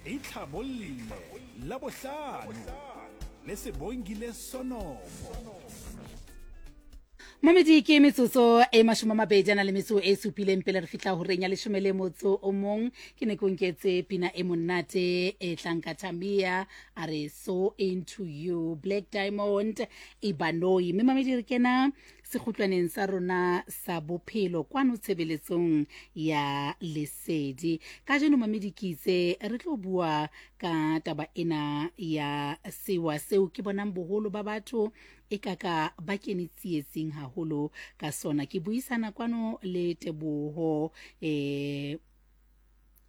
Itlhabolle Labohlano le Sebongile Sonopo. Mamedi ke metsotso e 20 a na le metso e supileng pele re fihla horeng ya leshome le motso o mong. Ke ne ke o nketse pina e monate e tlang ka Tamia a re so into you Black Diamond Ibanoi. Mme mamedi re kena sekgutlwaneng sa rona sa bophelo kwano tshebeletsong ya lesedi. Kajeno mamedi ke itse re tlo bua ka taba ena ya sewa seo ke bonang boholo ba batho e ka ka ba kene tsietsing haholo ka sona. Ke buisana kwano le Teboho eh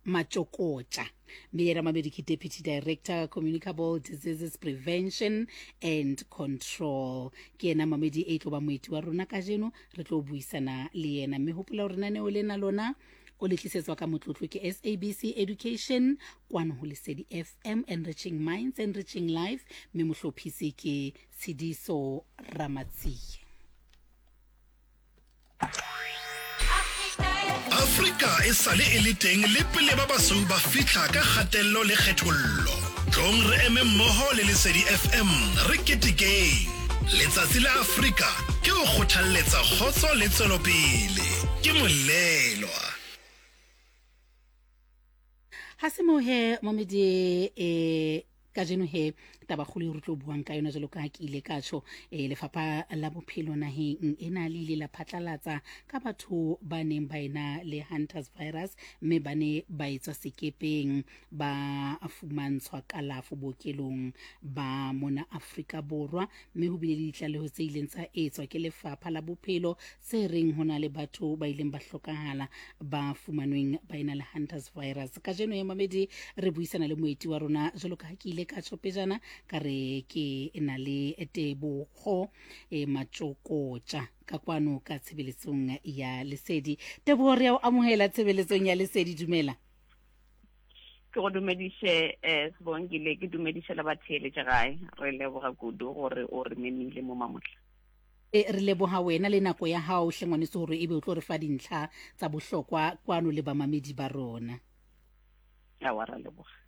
Matšokotša, mme yena mamedi ke Deputy Director Communicable Diseases Prevention and Control. Ke yena mamedi e tlo ba moeti wa rona kajeno, re tlo buisana le yena. Mme hopola hore naneo lena lona o le tlisetswa ka motlotlo ke SABC Education kwano ho Lesedi FM, enriching minds, enriching life, mme mohlophisi ke Tshidiso Ramatsie. Afrika e sale e le teng le pele ba basweu ba fihla ka kgatello le kgethollo. Tlong re eme mmogo le Lesedi FM re ketekeng Letsatsi la Afrika ke go kgothalletsa kgotso le tswelopele. Ke Molelwa. Ha se moo he momedi e kajeno he tabakgolo e re tlo buang ka yona jalo ka ke ile ka tjho e lefapha la bophelo naheng ena le ile la phatlalatsa ka batho ba neng ba ena le hunters virus mme ba ne ba etswa sekepeng ba fumantshwa kalafo bookelong ba mona Afrika Borwa mme ho bile le ditlaleho tse ileng tsa etswa ke lefapha la bophelo tse reng ho na le batho ba ileng ba hlokahala ba fumanweng ba ena le hunters virus. Kajeno ya mamedi re buisana le moeti wa rona jwalo ka ha ke ile ka tjho pejana ka re ke na le Tebogo e Matšokotša ka kwano ka tshebeletsong ya Lesedi. Tebogo, re ya o amohela tshebeletsong ya Lesedi, dumela. Ke go dumediše eh Sibongile, ke dumediše le batheeletše gae. Re leboga kudu gore o re memile mo mamohla. E, re leboga wena le nako ya gago hle ngwaneso gore ebe o tlo re fa dintlha tsa bohlokwa kwano le bamamedi ba rona. Awa, ra leboga.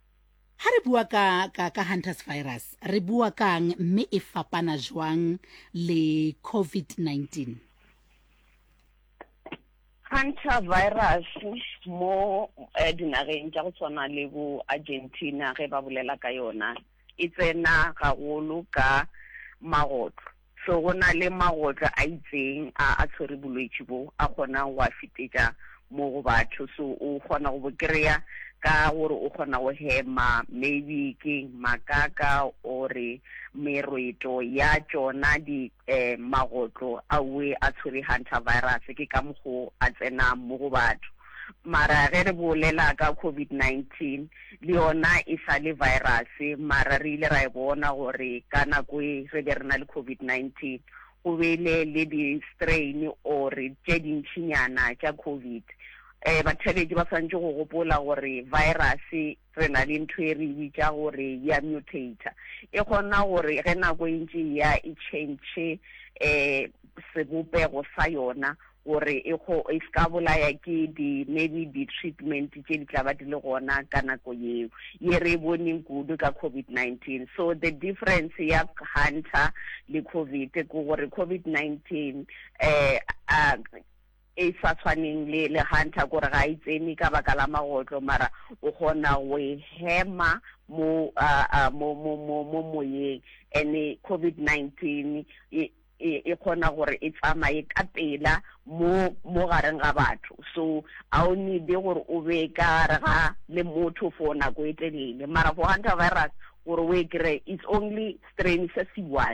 Ha re bua ka, ka, ka hunters virus, re bua kang mme e fapana jwang le COVID-19? Hunter virus mo eh, dinageng tša go tshwana le bo Argentina ge ba bolela ka yona e tsena gagolo ka magotlo. So go na le magotlo a itseng a a tshwere bolwetši bo a kgonang go a fetetša mo go batho. So o kgona go bo kry-a ka gore o kgona go hema maybe ke makaka ore merweto ya tšona di eh, magotlo a we a tshwere hantavirus, ke ka mokgo a tsenang mo go batho. Mara ge re bolela ka COVID-19, le yona e sa le virus, mara re ile ra e bona gore ka nako e re be re na le COVID-19, go bele le di-strain or tše dintšinyana tša COVID. Eh, batheeletši ba swanetše go gopola gore virus Re na le ntho e re e bitša gore ya mutator. E kgona gore ge nako e ntše e ya e tšhentšhe um sebopego sa yona gore e kgo e se ka bolaya ke di maybe di-treatment tše di tla ba di le gona ka nako yeo ye re e boneng kudu ka COVID-19. So the difference ya Hunter le COVID ke gore COVID-19 um e sa tshwaneng le le hunter kore ga e tsene ka baka la magotlo mara o kgona go e hema mo mo mo mo mo moyeng and COVID-19 e e kgona gore e tsamaye ka pela mo mo gareng ga batho so a o need gore o be ka gare ga le motho for nako e telele mara for hunter virus gore o e kry it's only strain se se one.